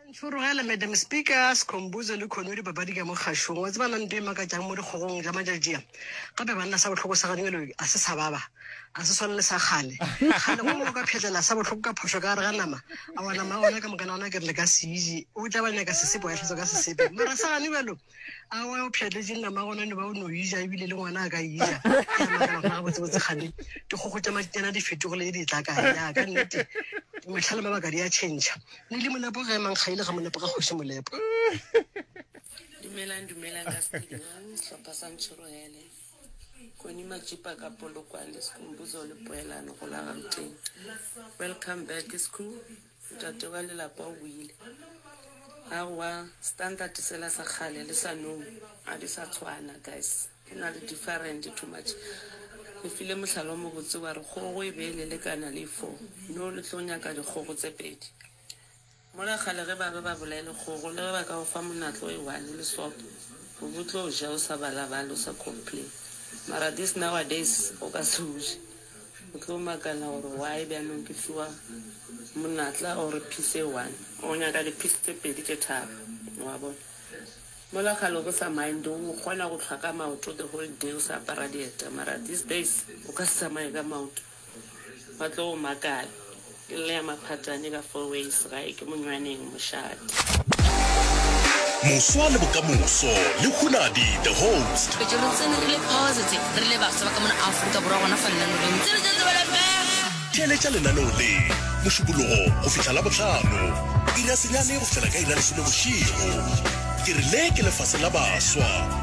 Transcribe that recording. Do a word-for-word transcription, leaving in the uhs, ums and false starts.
Ntšhorogele Madam Speaker, Skhumbuzo le Khonwe dipapadi ka mo kgašong. Wa tseba na nto e makatšang mo dikgogong tša matšatši a? Gape banna sa bohloko sa gane a se sa baba, a se swane le sa kgale. Kgale go o ka phetlela sa bohloko ka phošo ka gare ga nama, a wa nama ya gona ka mokana gona ke re le ka se je. O tla ba nyaka sesepe wa e hlatswa ka sesepe. Mara sa gane bjalo, a wa o pšhatletše nama ya gona no ba o no e ja ebile le ngwana a ka e ja. Ke a makala gona gabotsebotse kgane dikgogo tša matšinyana di fetogile di tla kae. Ya ka nnete mehla le mabaka di a change. Ne le molepo ge mankgaile ga molepo ga kgoši molepo. Dumelang, dumelang ka studio sehlopha sa Ntšhorogele Koni Majipa ka Polokwane Skhumbuzo le Poelano go la Gauteng. Welcome back Skhu, ntate wa lelapa o boile. Aowa standard sela sa kgale le sa nou a di sa tshwana guys, go na le different too much. Le file mohlala o mobotse wa re kgogo e be e le lekana le four, no le tlo nyaka dikgogo tse pedi. Mola kgale ge ba be ba bolaile kgogo le ge ba ka go fa monatlo e one le sopo o bo tlo ja o sa balabale o sa complain mara this nowadays o ka se o je o tlo makala gore why bjanong ke fiwa monatla or piece e one o nyaka di-piece tse pedi tše tharo wa bona. Mola kgale o bo sa mind o kgona go hlwa ka maoto the whole day o sa apara dieta mara these days o ka se tsamaye ka maoto ba tlo go makala. Ke lle ya maphatane ka four ways gae ke monywaneng mošate. Moswa le bokamoso le Hunadi the host. Petše re tsene re le positive re le bafsa ba ka mona Afrika Borwa gona fa lenaneong tse re tse tsebela Theeletša lenaneo le Mošupologo go fihla Labohlano iri ya senyane go fihlela ka iri ya lesome bošego. Ke re le ke lefase la baswa.